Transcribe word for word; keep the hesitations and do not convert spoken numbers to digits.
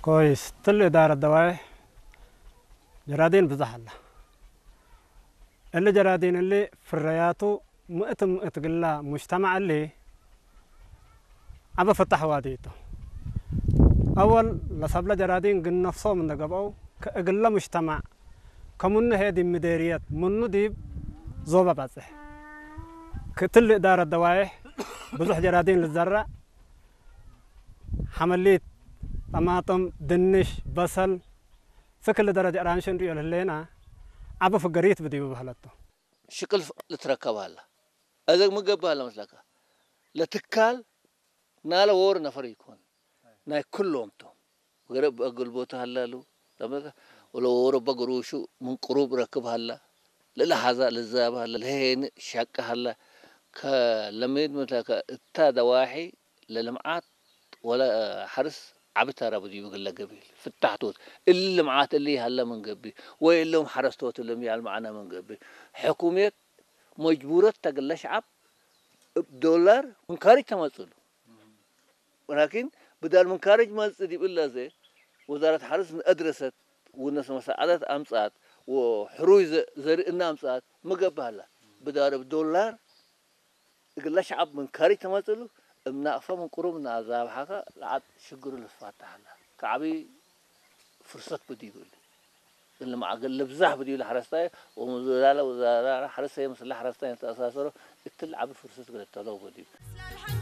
ኮይስ፣ ትል እዳረት ደዋዬሕ ጀራዲን ብዘሕ ዐለ። እሊ ጀራዲን እሊ ፍረያቱ ምእት ምእት ግላ ሙጅተማዕ እሊ ዐበ ፍታሕ ዋዲ ቱ። አወል ለሰብለ ጀራዲን ግን ነፍሶም እንደ ገብአው፣ ከእግለ ሙጅተማዕ ከምኑ ህዬ ዲብ ምዴርየት ምኑ ዲብ ዞበ በጽሕ። ክእትሊ እዳረት ደዋዬሕ ብዙሕ ጀራዲን ልዘረዕ፣ ሐመሊት፣ ጠማጥም፣ ድንሽ፣ በሰል፣ ፍክል ደረጀ ራንሽ እንርእዮ ለህሌና፣ ዐቢ ፍገሪት ብዲቡ በህለቱ። ሽቅል ልትረከብ ሀላ። አዘግ ሚ ገብእ ሀላ መስለከ? ለትካል ናለ ዎር ነፈር ኢኮን፣ ናይ ክሎም ቶም። ገረ እብ አገልቦቱ ሀላሉ፣ ለመ-፣ ወለ ዎር እበ ግሩሹ ምን ቅሩብ ረክብ ሀላ፣ ለለሐዛ ልዛብ ሀላ፣ ለሄኒ ሻቂ ሀላ፣ ከለሜድ ምትለከ እታ ደዋሒ ለልምዓት ወለ ሐርስ ዐቢ ተራ ብዲቡ እግለ ገቢል ፍታሕቶት። እሊ ልምዓት እሊ ሀለ ምን ገብእ፣ ወይ እሎም ሐረስቶት እሎም ያል መዕነ ምን ገብእ፣ ሕኩምየት መጅቡረት ተ እግለ ሸዐብ እብ ዶላር ምን ካርጅ ተመጽእሉ። ወላኪን ብዳል ምን ካርጅ መጽእ ዲብ እለ ዘ ወዛረት ሐርስ ነአድረሰት ወነሰ መሳዐደት አምጽአት ወሕሩይ ዘ-፣ ዘርኢ እነ አምጽአት ሚ ገብእ ሀላ። ብዳል እብ ዶላር እግለ ሸዐብ ምን ካርጅ ተመጽእሉ፣ እብ ናቅፈ ምን ቅሩብ እነ አዛብሐከ ለዐድ ሽግሩ ልትፋተሕ ሀለ። ከዐቢ ፍርሰት ብዲቡ እሊ። እሊ መዓገል ልብዛሕ ብዲቡ ለሐረስታይ ወምዝላለ ወዛራ ሐርስ ህዬ ምስለ ሐረስታይ ለተአሳሰሮ እትሊ ዐቢ ፍርሰት እግል እተለው ብዲቡ።